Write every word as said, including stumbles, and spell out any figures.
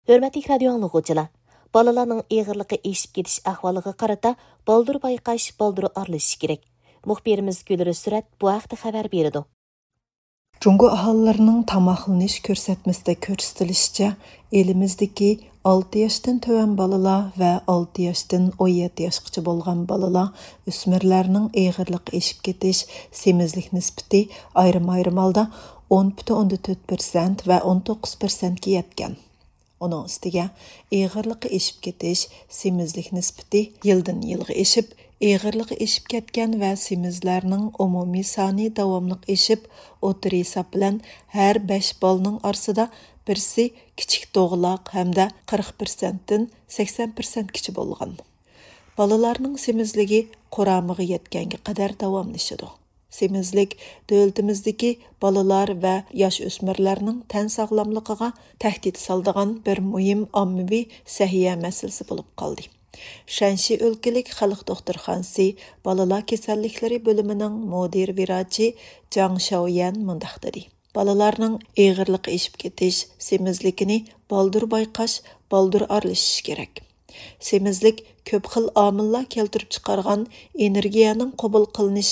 ھۆرمەتلىك رادىيو ئاڭلىغۇچىلار، بالىلارنىڭ ئېغىرلىقى ئېشىپ كېتىش ئەھۋالىغا قارىتا بالدۇر بايقاش، بالدۇر ئارىلىشىش كېرەك. مۇخبىرىمىز گۈلرى سۈرەت بۇ ھەقتە خەۋەر بېرىدۇ. جۇڭگو ئاھالىلىرىنىڭ تاماقلىنىش كۆرسەتمىسىدە كۆرسىتىلىشىچە، ئېلىمىزدىكى ئالتە ياشتىن تۆۋەن بالىلار ۋە ئالتە ياشتىن ئون يەتتە ياشقىچە بولغان بالىلار، ئۆسمۈرلەرنىڭ ئېغىرلىقى ئېشىپ كېتىش، سېمىزلىك نىسبىتى ئايرىم-ئايرىم ھالدا ئون پۈتۈن ئوندىن تۆت پىرسەنت ۋە ئون توققۇز پىرسەنتكە يەتكەن. ئۇنىڭ ئۈستىگە، ئېغىرلىقى ئېشىپ كېتىش، سېمىزلىك نىسبىتى يىلدىن يىلغا ئېشىپ، ئېغىرلىقى ئېشىپ كەتكەن ۋە سېمىزلەرنىڭ ئومۇمىي سانى داۋاملىق ئېشىپ، ئوتتۇرا ھېساب بىلەن ھەر بەش بالىنىڭ ئارىسىدا بىرسى كىچىك دوغىلاق ھەمدە قىرىق پىرسەنتتىن سەكسەن پىرسەنتكىچە بولغان. بالىلارنىڭ سېمىزلىكى قۇرامىغا يەتكەنگە قەدەر داۋاملىشىدۇ. سېمىزلىك دۆلىتىمىزدىكى بالىلار ۋە ياش ئۆسمۈرلەرنىڭ تەن ساغلاملىقىغا تەھدىت سالىدىغان بىر مۇھىم ئاممىۋى سەھىيە مەسىلىسى بولۇپ قالدى. شەنشى ئۆلكىلىك خەلق دوختۇرخانىسى بالىلار كېسەللىكلىرى بۆلۈمىنىڭ مۇدىر ۋىراچى جاڭ شاۋيەن مۇنداق دېدى: بالىلارنىڭ ئېغىرلىقى ئېشىپ كېتىش، سېمىزلىكىنى بالدۇر بايقاش، بالدۇر ئارىلىشىش كېرەك. سېمىزلىك كۆپ خىل ئامىللار كەلتۈرۈپ چىقارغان ئېنېرگىيەنىڭ قوبۇل قىلىنىش